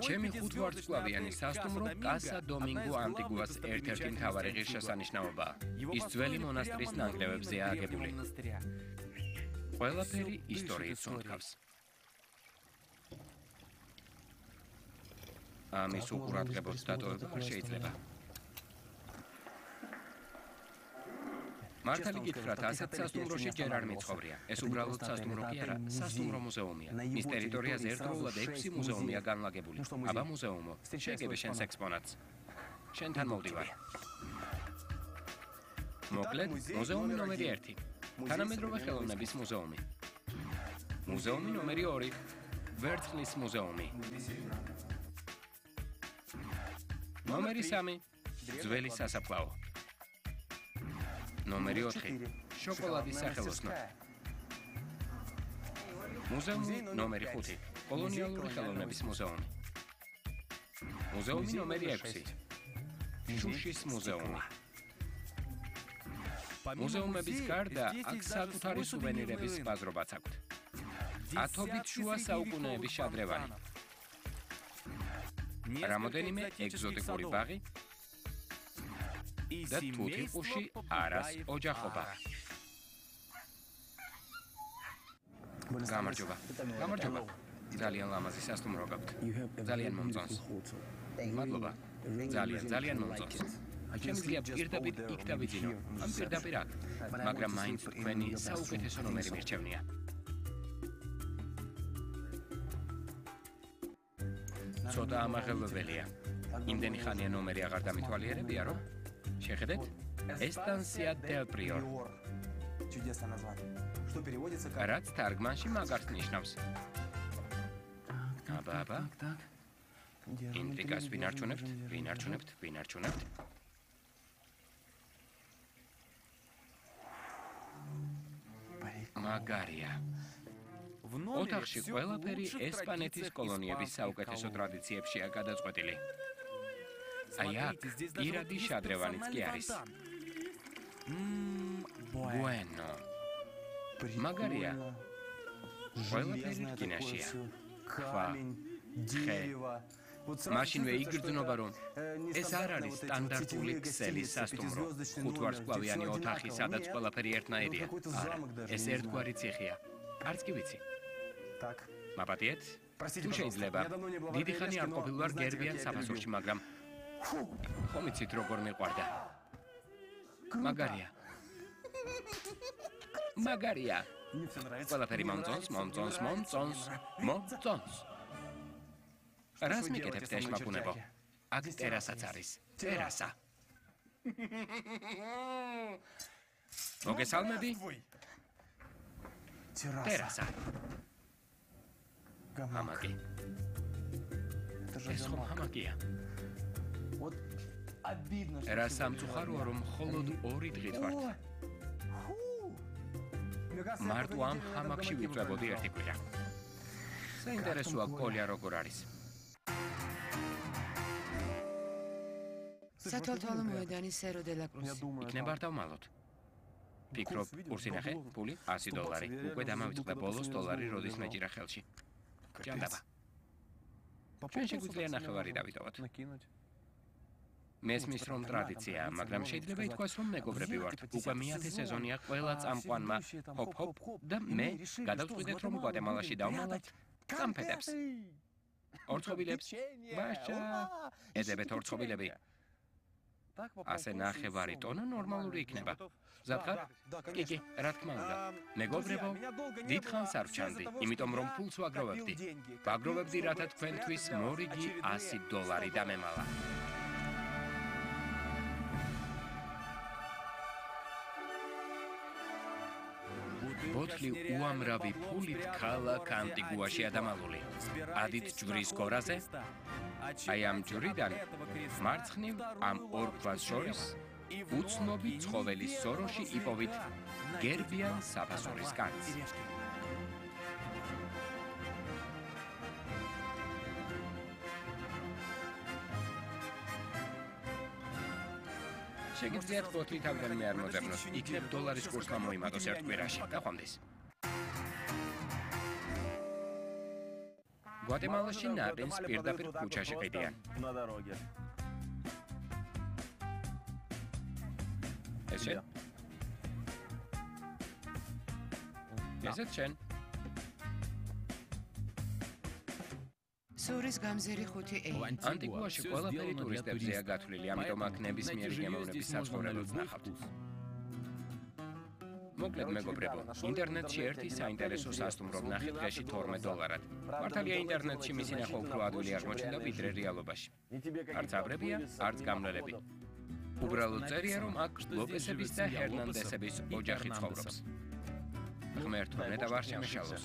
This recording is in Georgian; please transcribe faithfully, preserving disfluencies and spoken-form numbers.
ჩემი ხუთვარსკვლავიანი სასტუმრო კასა დომინგო ანტიგუას ერთ-ერთი მთავარი ღირსშესანიშნაობაა. ის ძველი მონასტრის ნანგრევებზეა აგებული. ყველაფერი ისტორიით სუნთქავს. ამის უყურადღებოდ დატოვება არ შეიძლება. მართალი გითხრათ, ასეთ სასტუმროში ჯერ არ მიცხოვრია. ეს უბრალოდ სასტუმრო კი არა, სასტუმრო მუზეუმია. მის ტერიტორიაზე ერთდროულად ექვსი მუზეუმია განლაგებული. აბა მუზეუმო, შეგებე შენს ექსპონატს. შენთან მოვდივარ. მოკლედ, მუზეუმი ნომერი ერთი. თანამედროვე ხელოვნების მუზეუმი. მუზეუმი ნომერი ორი. ვერცხლის მუზეუმი. ნომერი სამი. ძველი სასაფლაო. ნომერი ოთხი. შოკოლადის სახელოსნო. მუზეუმი ნომერი ხუთი. კოლონიალური ხელოვნების მუზეუმი. მუზეუმი ნომერი ექვსი. შუშის მუზეუმი. მუზეუმების გარდა აქ საკუთარი სუვენირების ბაზრობაც აქვთ. ათობით შუა საუკუნეების შადრევანი. რამოდენიმე ეგზოტიკური ბაღი და თუთიყუში არას ოჯახობა. გამარჯობა. გამარჯობა. ძალიან ლამაზი სასტუმრო გაქვთ. ძალიან მომწონს. მადლობა. ძალიან, ძალიან მომწონს. შემიძლია პირდაპირ იქ დავიძინო. ამ პირდაპირ აქ. მაგრამ მაინც თქვენი საუკეთესო ნომერი მირჩევნია. ცოტა ამაღელვებელია. იმდენი ხანია ნომერი აღარ დამითვალიერებია, რომ შეხედეთ, ესტანსია დელ პრიორ. რაც თარგმანში მაგარს ნიშნავს. აბა, აბა. ინტრიგას ვინ არჩუნებთ? ვინ არჩუნებთ? ვინ არჩუნებთ? მაგარია. ოთახში ყველაფერი ესპანეთის კოლონიების საუკეთესო ტრადიციებშია გადაწყვეტილი. აი აქ პირადი შადრევანიც კი არის. Bueno. მაგარია. ყველაფერი რკინაშია. ხვა, ხე. მაშინვე იგრძნობა, რომ ეს არ არის სტანდარტული ქსელის სასტუმრო. ხუთვარსკვლავიანი ოთახი, სადაც ყველაფერი ერთნაირია. არა, ეს ერთგვარი ციხეა. არც კი ვიცი. მაპატიეთ? თუ შეიძლება, დიდი ხანი არ ყოფილ ვარ გერბიან საფასურში, მაგრამ ხომ იცით როგორ მიყვარდა? მაგარია. მაგარია. ყველაფერი მომწონს, მომწონს, მომწონს, მომწონს. რას მიკეთებთ ეშმაკუნებო? აქ ტერასაც არის. ტერასა. მოგესალმები? ტერასა. ჰამაკი. ეს ხომ ჰამაკია? რა სამწუხაროა, რომ მხოლოდ ორი დღით ვართ. მარტო ამ ჰამაკში ვიწვებოდი ერთი კვირა. საინტერესოა კოლია როგორ არის. სათვალთვალო მოედანი სერო დე ლა კრუზი. იქნება არ დავმალოთ. ფიქრობ, კურსი ნახე, ფული ასი დოლარი. უკვე დამავიწყდა ბოლოს დოლარი როდის მეჭირა ხელში. ჭანდაბა. ჩვენ შეგვიძლია ნახევარი დავიტოვოთ. მესმის რომ ტრადიციაა, მაგრამ შეიძლება ითქვას, რომ მეგობრები ვართ. უკვე მეათე სეზონია ყველა წამყვანმა ჰოპ-ჰოპ და მე გადავწყვიტეთ, რომ გვატემალაში დავმალავთ წამფეთებს. ორცხობილებს. ბაშა. ეძებეთ ორცხობილები. ასე ნახევარი ტონა ნორმალური იქნება. ზაფხარ? კი, კი, რა თქმა უნდა. მეგობრებო, დიდხანს არ ვჩანდი, იმიტომ რომ ფულს ვაგროვებდი. ვაგროვებდი, რათა თქვენთვის მორიგი ასი დოლარი დამემალა. ბოთლი უამრავი ფულით ქალაქ ანტიგუაშია დამალული. ადით ჯვრის გორაზე, აი ამ ჯვრიდან მარცხნივ ამ ორ ქვას შორის უცნობი ცხოველის სოროში იპოვით გერბიან საფასურის კანს. შეგიძლიათ ბოთლი თავდანვე არ მოძებნოს, იქნებ დოლარის კურსმა მოიმატოს ერთ კვირაში. გაყვამდის. გვატემალაში ნაყინს პირდაპირ ქუჩაში ყიდიან. ესე? ესეც შენ? სურის გამზირი ხუთი ეი. ანტიგუაში ყველაფერი ტურისტებზეა გათვლილი, ამიტომ აქ ნებისმიერი გემოვნების საცხოვრებელს ნახავთ. მოკლედ მეგობრებო, ინტერნეტში ერთი საინტერესო სასტუმრო ვნახე დღეში თორმეტ დოლარად. მართალია ინტერნეტში მისი ნახვა უფრო ადვილი აღმოჩნდა ვიდრე რეალობაში. არც აბრებია, არც გამლელები. უბრალოდ წერია, რომ აქ ლოპესების და ჰერნანდესების ოჯახი ცხოვრობს. ღმერთო, ნეტა ვარ შემეშალოს.